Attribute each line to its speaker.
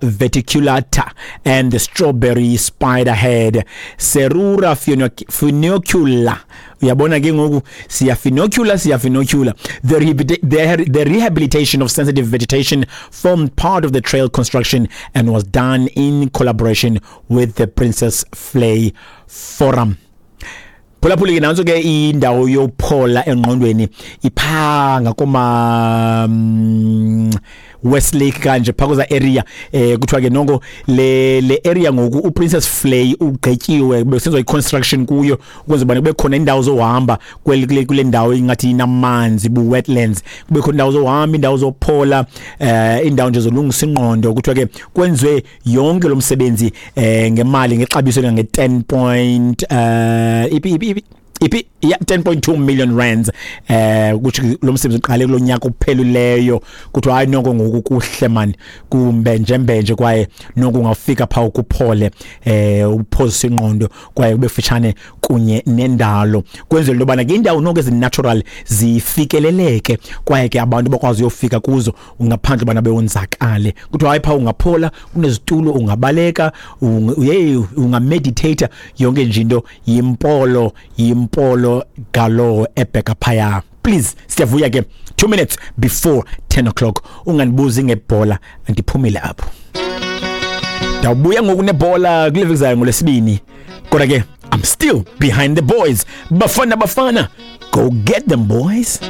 Speaker 1: Verticulata and the strawberry spiderhead, Serura funicula. Uyabona ke ngoku siya finocula, siya finocula. The rehabilitation of sensitive vegetation formed part of the trail construction and was done in collaboration with the Princess Flay Forum. Phulaphula ke, nantso ke indawo yophola engqondweni, iphaa ngakoma Westlake kanje phaa kweza area. Kuthiwa ke noko le area ngoku uPrincess Flay ugqityiwe, besenziwa i-construction kuyo ukuze bana kube khona indawo zohamba kule ndawo ingathi inamanzi, bu-wetlands, kube khona indawo zohamba, indawo zophola, indawo nje zolungisa ingqondo. Kuthiwa ke kwenziwe yonke lo msebenzi ngemali, ngexabiso elingange-10 point ipi ya 10.2 million rands. Kuthi lo msebenzi uqale kulo nyaka upheluleyo. Kuthiwa hayi noko ngoku kuhle man, kumbenje mbenje, kwaye noko ungafika phaa kuphole, uphozise ingqondo, kwaye ube futshane kunye nendalo. Kwenzela into yobana ke indawo noko ezinatural zifikeleleke, kwaye ke abantu bakwazi uyofika kuzo ngaphandle ubana bewonzakale. Kuthiwa hayi phaa ungaphola, kunezitulo, ungabaleka, yeyi, ungameditata, yonke nje into yimpolo, yimpolo galo ebheka phaya. Please, siyavuya ke, 2 minutes before 10 o'clock. Ungandibuzi ngebhola, andiphumile apho, ndawubuya ngoku nebhola kule veki zayo ngolwesibini. Kodwa ke I'm still behind the boys. Bafana Bafana, go get them boys.